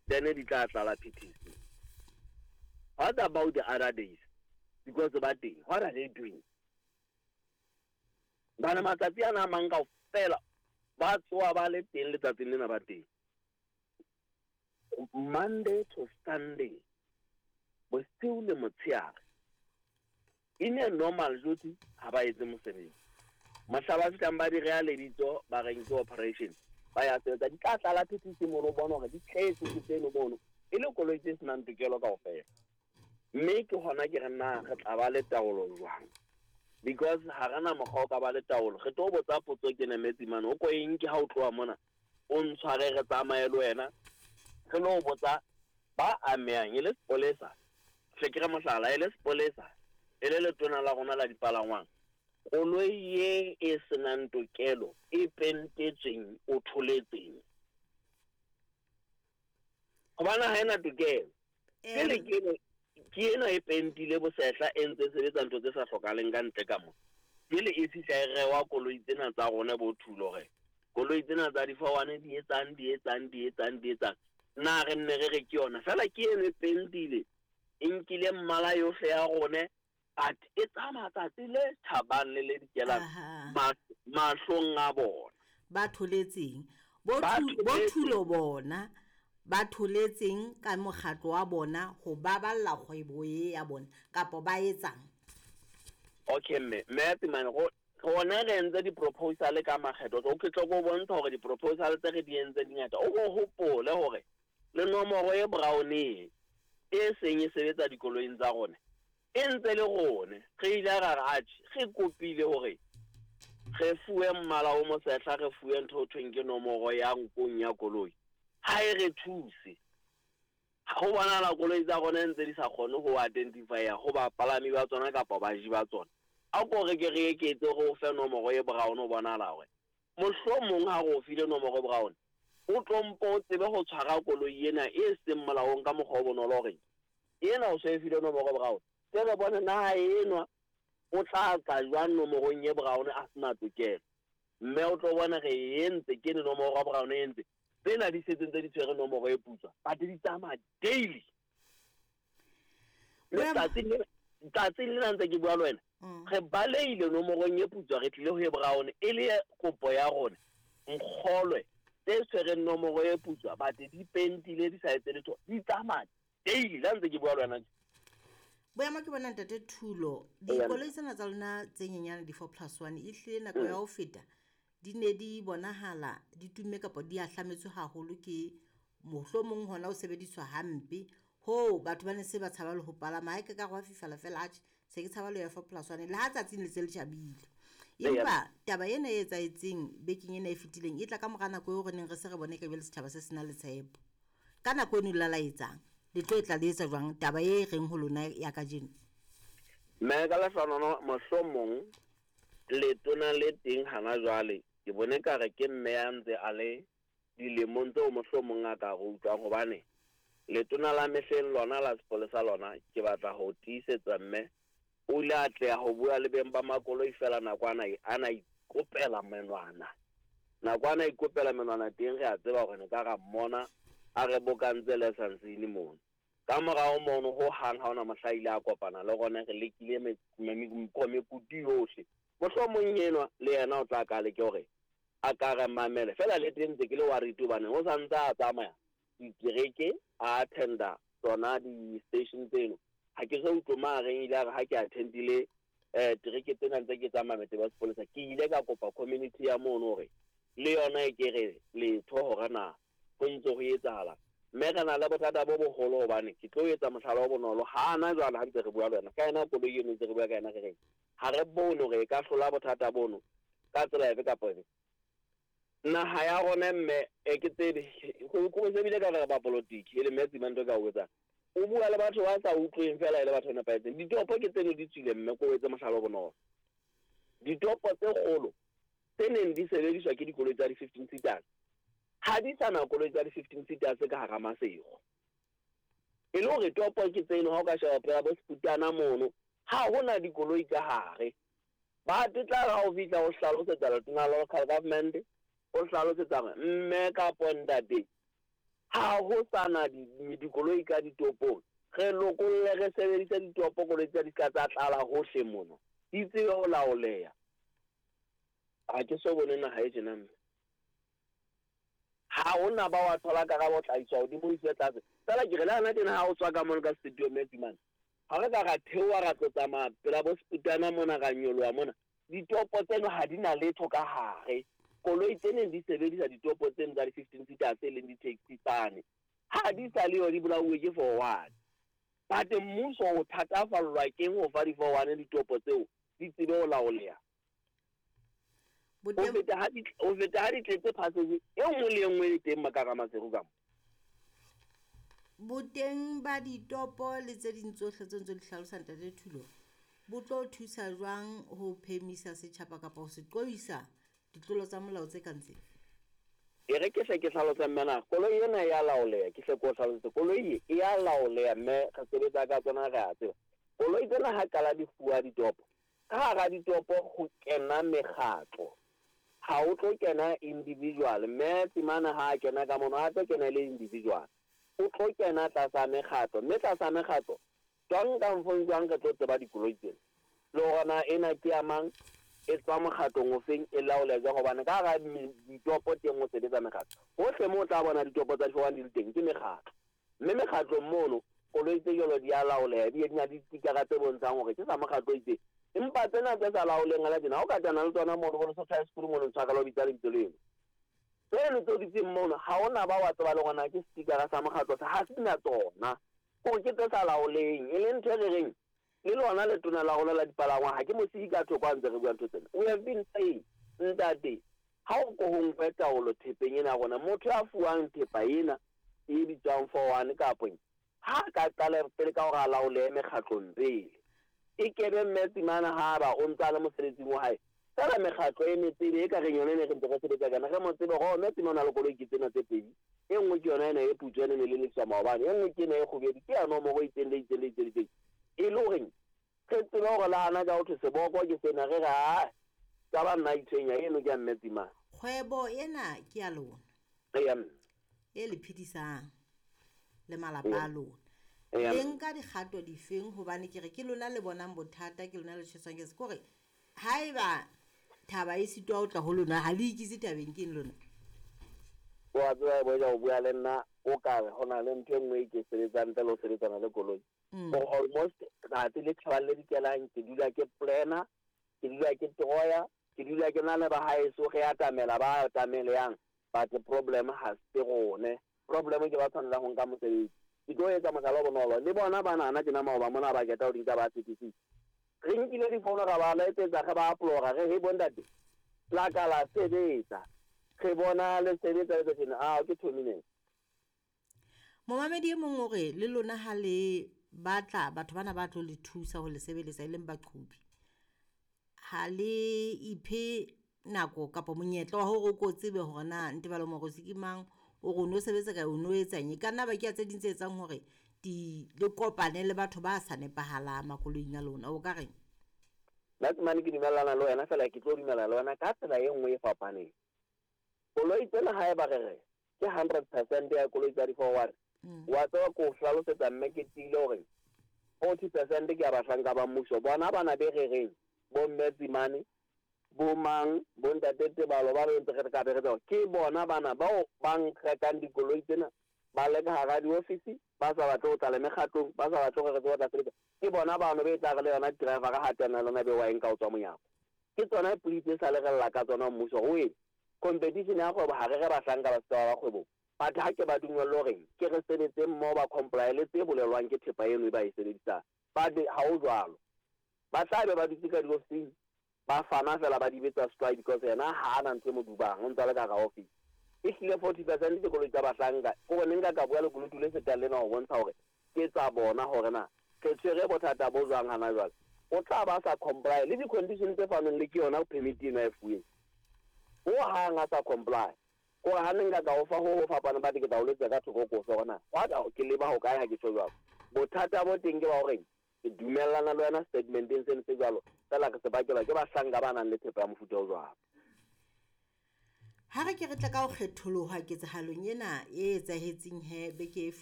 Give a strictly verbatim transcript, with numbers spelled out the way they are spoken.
Then di tla tlala P T C. What about the other days? Because ba teng, what are they doing? Bana matsatsi ana a mang kaofela ba tsoha ba le teng letsatsing lena, ba teng Monday to Sunday, bosiu le motshehare. In a normal duty ha ba etse mosebetsi. Mohla ba fihlang ba di reha lebitso, ba reng ke operation, ba ya sebetsa, di tla tlala P T C mono, o bona hore di tletse ke tseno mono, e le koloi tse senang tokelo kaofela. Mme ke hona ke re na re tla ba le taolo jwang? Because ha re na mokgwa o ka ba le taolo. Re tlo botsa potso ke nemetse mane, o ko e nke ha o tloha mona, o ntshware, re tsamaye le wena, re lo botsa ba amehang, e le sepolesa, hle ke re mohlala, e le sepolesa, e le letona la rona la dipalangwang. Koloi ye e senang tokelo, e pentetsweng, o tholetseng hobane ha ena tokelo, pele ke eno, ke ena e pentile bosehla, e ntse e sebetsa ntho tse sa hlokahaleng ka ntle ka mo. Pele e fihla e rewa koloi tsena tsa rona bo Thulo, hore koloi tsena tsa di-four one di etsang, di etsang, di etsang, di etsang, na re nne re re ke yona fela, ke eno e pentile, e nkile mmala yohle ya rone, but e tsamaya tsatsi le tjhabang le le dikelang Aha. mahlong a bona. Ba tholetseng bo Ba Thu- bo tholetseng. Thulo bona ba tholetseng ka mokgatlo wa bona ho baballa kgwebo e ya bona, kapa ba etsang? Okay, mme mme Tsimane, go rona re entse di-proposal ka makgetlo. O ke tlo go bontsha hore di-proposal tse re di entse di ngata. O ko hopole hore le nomoro e brown e e seng e sebetsa dikoloing tsa rona e ntse le rone. Re ile ra re atjhe, re kopile hore re fuwe mmala o mosehla, re fuwe ntho ho thweng ke nomoro ya nkong ya koloi, ha e re thuse. Ho bonahala koloi tsa rona ntse di sa kgone ho identify ho bapalami ba tsona kapa baji ba tsona. A ko re ke re eketse, re o fe nomoro e brown, o bonahala hore mohlomong ha re o file nomoro e brown, o tlo mpo o tsebe ho tshwara koloi ena e seng molaong ka mokgwa o bonolo, hore ena o so e file nomoro e brown, se re bone na enwa o tla tla jwang nomorong e brown a sena tokelo. Mme o tlo bona re entse ke ne nomoro ya brown e entse tsena di setseng tse di tshwere nomoro e putswa, but di tsamaya daily. Letsatsing lena, tsatsing lena ntse ke bua le wena, Mm. re baleile nomorong e putswa, re tlile ho e brown, e le kopo ya rona. Nkgolwe, tse tshwereng nomoro e putswa but di pentile, di sa etse letho, di tsamaya daily la ntse ke bua le wena tje. Boemo ke bona, ntate Thulo, Eya. dikoloi tsena tsa lona tse nyenyane, di-four plus one, e hlile nako ya ho feta di ne di bonahala di tumme kapa di ahlametswe haholo ke mohlomong hona ho sebediswa hampe hoo batho ba ne se ba tshaba le ho palama. Ha e ka ka wa fifala fela, atjhe, se ke tshaba le ya four plus one le ha tsatsing le se le tjhabile. Empa taba ena e etsahetseng bekeng ena e fetileng e tla ka mora nako eo re neng re se re bone ka jwale setjhaba se se na le tshepo. Ka nako eno la la etsang, le tlo e tla le etsa jwang taba e reng ho lona ya kajeno? Mme ka lehlohonolo, mohlomong letona le teng hana jwale, ke bone ka re ke mme ya ntse a le dilemong tseo mohlomong a ka re utlwang, hobane letona la mehleng lona la sepolesa lona, ke batla ho tiisetsa mme, o ile a tleha ho bua le beng ba makoloi fela nako ana ana ikopela menwana, nako ana ikopela menwana teng. Re a tseba hore ne ka ra mmona a re bokantse license mono. Ka morao mono ho hang ha ona mohla ile a kopana le rona. Re lekile me- me- me- mekutu yohle. Mohlomong enwa le yena o tla ka leke hore a ka re mamele fela. Le teng ntse ke le worried hobane o sa ntse a tsamaya ditereke, a attenda tsona di-station tseno. Ha ke so utlwe ma reng ile a re ha ke attendile eh tereke tsena ntse ke tsamaya metse ba sepolesa. Ke ile ka kopa community ya mono hore le yona e ke re letho hore na ho ntse ho etsahala. Mme re na le bothata bo boholo, hobane ke tlo etsa mohlala o bonolo. Ha ana jwale ha ntse re bua le wena ka yena koloi eno, ntse re bua ka yena, re reng ha re bone hore e ka hlola bothata bono ka tsela efe kapa efe naha ya rona. Mme e ke tsebe ko sebile ka re ba politiki e le mme Tsimane ka o etsang, o bua le batho ba sa utlweng fela, e le batho ba nepahetseng. Ditopo ke tseno di tswile. Mme ko etse mohlala o bonolo, ditopo tse kgolo tse neng di sebediswa ke dikoloi tsa di-fifteen seaters ha di sa na koloi tsa di-fifteen seaters ka hara Masego. E le hore topo ke tseno, ha o ka sheba pela bo Seputana mono, ha hona dikoloi ka hare. Ba tla ha o fihla o hlalosetsa letona la local government, o hlalosetsa hore mme kapo ntate Ha ho sana dikoloi ka ditopong, re lokolle re sebedise ditopo, koloi tsa di ka tsa tlala hohle mona, di tsebe ho laoleha. Ha ke so bone naha e tjena mme. Ha hona ba wa thola karabo tla iswa hodimo, iswe tlase. Fela ke re le hana tjena ha o tswa ka mono ka studio Metsi mane, ha re ka ra theoha ra tlo tsamaya pela bo Seputana mona, ra nyoloha mona, ditopo tseno ha di na letho ka hare. Koloi tse neng di sebedisa ditopo tseno tsa di-fifteen seater tse leng di-taxi tsane, ha di sa le yo, di bolauwe ke four one. But mmuso o thatafallwa keng ho fa di-four one ditopo tseo di tsebe ho laoleha? Ho feta ha di, ho feta ha di tletse passage e nngwe le e nngwe e teng ka hara Maseru ka mo. Boteng ba ditopo le tse ding tsohle tse ntse di hlalosa Ntate Thulo, bo tlo thusa jwang ho phemisa setjhaba kapa ho se qoisa ditlolo tsa molao tse kang tse? E re ke hle ke hlalose mme na, koloi ena e ya laoleha, ke hle ke o hlalosetse. Koloi e ya laoleha mme re sebetsa ka tsona, re a tseba. Koloi tsena ha qala di fuwa ditopo, ka hara ditopo ho kena mekgatlo. Ha o tlo kena individual, mme Tsimane ha a kena ka mono, ha tlo kena le individual. O tlo kena tlasa mekgatlo, mme tlasa mekgatlo, jwang ka mfong jwang re tlo tseba dikoloi tsena. Le hore na ena ke ya mang, e tswa mokgatlong ofeng, e laoleha jwang, hobane ka hara ditopo teng ho sebetsa mekgatlo. Hohle moo o tla bona ditopo tsa di-four one di le teng ke mekgatlo. Mme mekgatlong mono, koloi tse jwalo di a laoleha, di na le ditikara tse bontshang hore ke sa mokgatlo o itseng. Empa tsena tse sa laoleng hana tjena, ha o ka tana le tsona mono, bo Lesotho High School mono, ntshwaka le ho bitsa lebitso leno. Tseno tse o dutseng mono, ha hona ba wa tseba le hore na ke setikara sa mokgatlo sa, ha se na tsona. Hore ke tse sa laoleng, e leng ntho e re reng, le lona letona la rona la dipalangwa, ha ke mo siye ka thoko ha ntse re bua ntho tsena. We have been saying, ntate, ha o ko ho nkwe taolo thepeng ena ya rona, motho ya fuwang thepa ena e bitswang four one kapa eng, ha ka qala pele ka hore a laolehe mekgatlong pele. E kebe mme Tsimane ha ba o ntsa le mosebetsing wa hae, fela mekgatlo e metsebe e ka reng yona e ne re ntse re sebetsa ka yona, re mo tsebe hore mme Tsimane o na le koloi ke tsena tse pedi. E nngwe ke yona ena e putswa ena e ne le maobane, e nngwe ke ena e kgubedu, ke ya nomoro e itseng le itseng le itseng le itseng. E le horeng re tsebe hore le hana ka ho thwe seboko ke sena, re re ha ka ba nna itshwenya eno ke ya mme Tsimane. Kgwebo ena ke ya lona. Eya mme. E le phedisang le malapa a lona. Le nka dikgato difeng, hobane ke re ke lona le bonang bothata, ke lona le tjheswang ke se kore haeba thaba e sitwa ho tla ho lona, ha le ikise thabeng ke eng lona? Wa tseba boja o bua le nna o ka re hona le ntho e nngwe e ke sebetsang ntle le ho sebetsana le koloi. For almost tsatsi le tjhabang le dikelang, ke dula ke planner, ke dula ke troya, ke dula ke na le ba haeso, re atamela ba atameleyang, but problem ha se rone. Problem ke ba tshwanelang ho nka mosebetsi. Ke tlo etsa mohlala o bonolo, le bona ba nana tjena maoba mona ba keta ho di nka ba C T C. Re nkile difono ra ba letsetsa, re ba aplora, re he bontate, la ka la sebetsa. Re bona le sebetsa le tjena, ah ke two minutes. Momamedi e mong o re le lona ha le batla batho bana ba tlo le thusa ho le sebeletsa e leng baqhobi, ha le iphe nako kapa monyetla wa hore o ko tsebe hore na Ntebalo Moorosi ke mang, o re o no sebetsa kae, o no etsang. E ka nna ba ke tse ding tse etsang hore di le kopane le batho ba sa nepahalang makoloing a lona. O ka reng? Nna Tsimane ke dumellana le wena, fela ke tlo dumela le wena ka tsela e nngwe e fapaneng. Koloi tsena haeba re re ke hundred percent ya koloi tsa di-four one, wa tseba ko hlalosetsa mme ke tiile hore forty percent ke ya bahlanka ba mmuso. Bona bana be re reng bo mme Tsimane, bo mang, bo ntate Tebalo ba re ntse re ka be re tseba, ke bona bana bao ba rekang dikoloi tsena, ba le ka hara diofisi, ba sa batle ho tla le mekgatlong, ba sa batle hore re tsebe ho tla sebetsa. Ke bona bano be tla re le yona driver ha tena lona be wa enka ho tswa monyako. Ke tsona polisi tse sa le re lla ka tsona mmuso ho eng competition ya kgwebo, ha re re bahlanka ba setjhaba ba kgwebong, but ha ke ba dumelle hore ke re sebetse mmoho, ba comply le tse bolelwang ke thepa eno e ba e sebedisang. But ha ho jwalo, ba tla be ba dutse ka diofising, ba fana fela ba di betsa strike because yena ha ana ntho e mo dubang, o ntse a le ka hara office. E hlile forty percent ke koloi tsa bahlanka. Ke hore ne nka ka bua lekunutu le fetang lena ho bontsha hore ke tsa bona hore na re tshwere bothata bo jwang hana jwale. O tla ba sa comply le di-condition tse fanweng le ke yona permit eno a e fuweng. Ho hang a sa comply. Kore ha ne nka ka o fa ho ho fapaneng, but ke tla o letsa ka thoko ko fe hore na ke leba hokae ha ke tjho jwalo. Bothata bo teng ke ba horeng ke dumellana le wena statementeng seno se jwalo, fela re se bakelwa ke bahlanka ba nang le thepa ya mofuta o jwalo. Ha re ke re tle ka ho kgetholoha ketsahalong ena e etsahetseng he beke e.